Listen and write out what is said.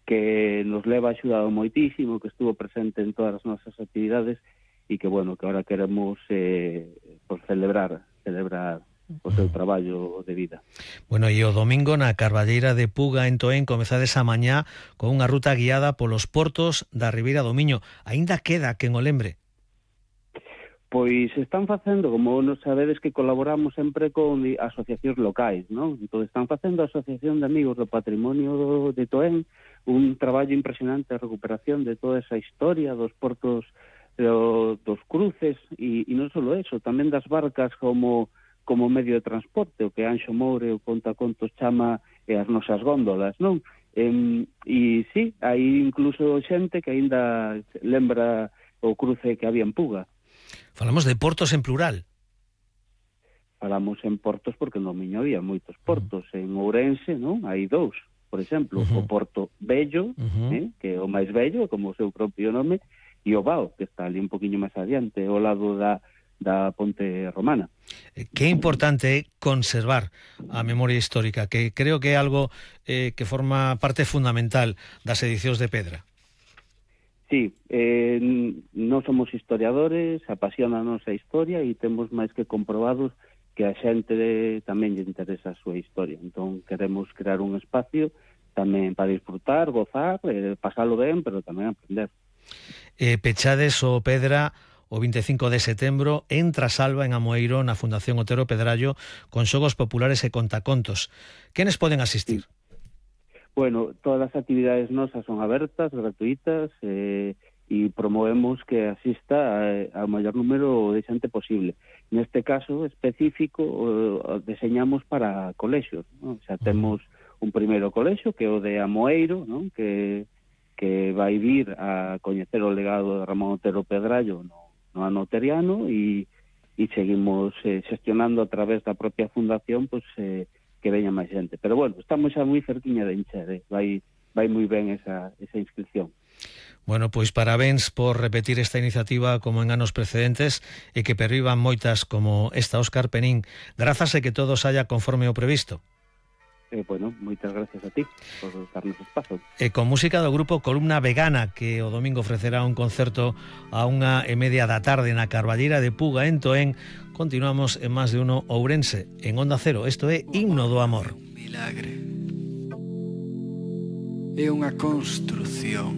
que nos leva axudado moitísimo, que estuvo presente en todas as nosas actividades e que, bueno, que ahora queremos por celebrar o seu traballo de vida. Bueno, e o domingo na Carballeira de Puga en Toén comezades a mañá con unha ruta guiada polos portos da Ribeira do Miño. Aínda queda quen o lembre? Pois están facendo, como nos sabedes que colaboramos sempre con asociacións locais, non? Entón están facendo a Asociación de Amigos do Patrimonio de Toén un traballo impresionante de recuperación de toda esa historia dos portos, dos cruces e non só eso, tamén das barcas como medio de transporte, o que Anxo Moure o Contacontos chama as nosas góndolas, non? E sí, hai incluso xente que aínda lembra o cruce que había en Puga. Falamos de portos en plural. Falamos en portos porque no Miño había moitos portos. En Ourense, non? Hai dous, por exemplo, o Porto Vello, que é o máis vello, como o seu propio nome, e o Bao, que está ali un poquinho máis adiante, ao lado da Ponte Romana. Que importante é conservar a memoria histórica, que creo que é algo que forma parte fundamental das edicións de Pedra. Sí, non somos historiadores, apasionanos a historia e temos máis que comprobados que a xente tamén lle interesa a súa historia. Entón queremos crear un espacio tamén para disfrutar, gozar, pasalo ben, pero tamén aprender. Pechades o Pedra o 25 de setembro en Trasalba, en Amoeiro, na Fundación Otero Pedrallo, con xogos populares e contacontos. Quenes poden asistir? Sí. Bueno, todas as actividades nosas son abertas, gratuitas, e promovemos que asista ao maior número de xente posible. Neste caso específico, deseñamos para colexios, non? Xa temos un primeiro colexio, que é o de Amoeiro, non? Que vai vir a coñecer o legado de Ramón Otero Pedrallo no ano teriano e seguimos xestionando a través da propia fundación, pois, que veña máis xente. Pero bueno, estamos xa moi cerquiña de encher, vai moi ben esa inscripción. Bueno, pois parabéns por repetir esta iniciativa como en anos precedentes e que pervivan moitas como esta, Óscar Penín. Grazas e que todo saia conforme o previsto. Bueno, moitas gracias a ti por darnos espazo. E con música do grupo Columna Vegana, que o domingo ofrecerá un concerto a 1:30 da tarde na Carballeira de Puga en Toén, continuamos en Más de Uno Ourense, en Onda Cero. Isto é Himno do Amor. Milagre é unha construción.